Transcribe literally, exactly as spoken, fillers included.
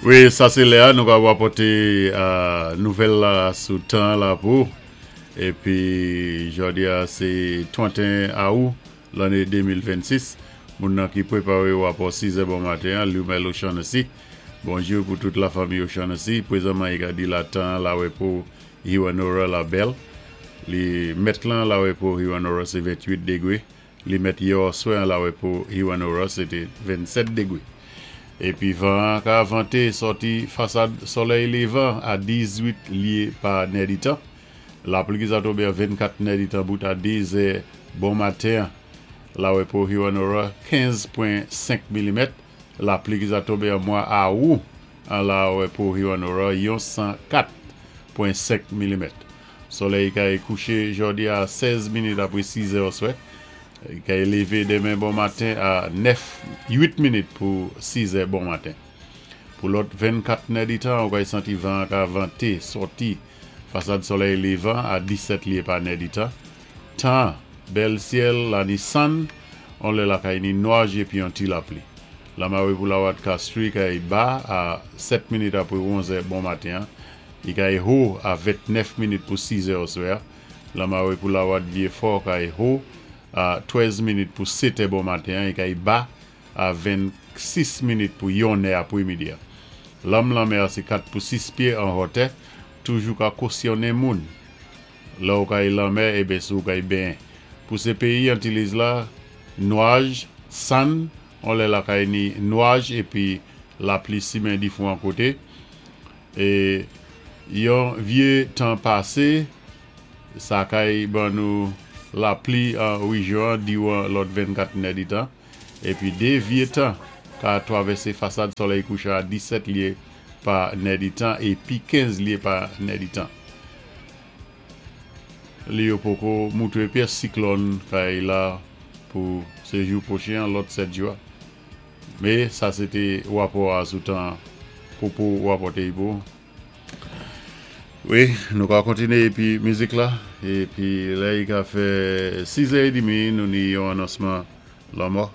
Wi, sa sé lè-a, nou ka wapòté nouvèl la sou tan la pou. Épi, jòdi-a, sé tranteyen awou, lanné de mil vennsis. Moun nan ki pwépawé wapò siz è bon maten, Lumel O'Shaughnessy. Bonjou pou tout la fanmi O'Shaughnessy. Pwézanman, i ka di la tan la wè pou Hewanorra la bèl. Li mèt lan la wè pou Hewanorra, sé venntwit dégwé. Li mèt yè oswè la wè pou Hewanorra, sé té vennsèt dégwé. Épi van ka vanté sòti fasad solèy lévan a dizuit lyé pa nèditan. Lapli ki sa tonbé a vennkat nèditan bout a diz è bon maten la wè pou Hewanorra, kenz pwen senk milimèt. Lapli ki sa tonbé an mwa awou an la wè pou Hewanorra, yon san kat pwen senk milimèt. Solèy kay kouché jòdi a sèz minit apwé siz è oswè. Kay lévé démen bon maten a nèf, uit minit pou siz è bon maten. Pou lòt vennkat nèditan, ou kay santi van ka vanté sòti fasad solèy lévan a disèt lyé pa nèditan. Tan, bèl syèl, la ni sann, on lè la kay ni nwaj épi yon ti lapli. Lamawé pou lawad Castries kay ba a sèt minit apwé onz è bon maten. I kay ho a ventnèf minit pou siz è oswè. Lamawé pou lawad Vieux-Fort kay ho a trèz minit pou sèt è bon maten. I kay ba a vennsis minit pou yon è apwémidi. Lanm lanmè sé kat pou sis pyé an wotè, toujou ka kosyonnen moun. La ou kay lanmè ében sou kay benyen. Pou sé péyi Antilles la, nwaj, sann, on lè la kay ni nwaj épi lapli simen difwan koté. É yon vyé tan pasé, sa kay ban nou lapli an wéjyon diwan lòt vennkat nèditan. Épi dé vyé tan ka twavèsé fasad solèy kouchan a disèt lyé pa nèditan épi kenz lyé pa nèditan. Li yo poko moutwé pyès siklòn kay la pou sé jou pwochen, lòt sèt jou. Mé sa sé té wapò a sou tan pou pou wapòté pou. Wi, nou ka kontiné épi mizik la. Épi la, i ka fè siz è édmi, nou ni yon anonsman lanmò.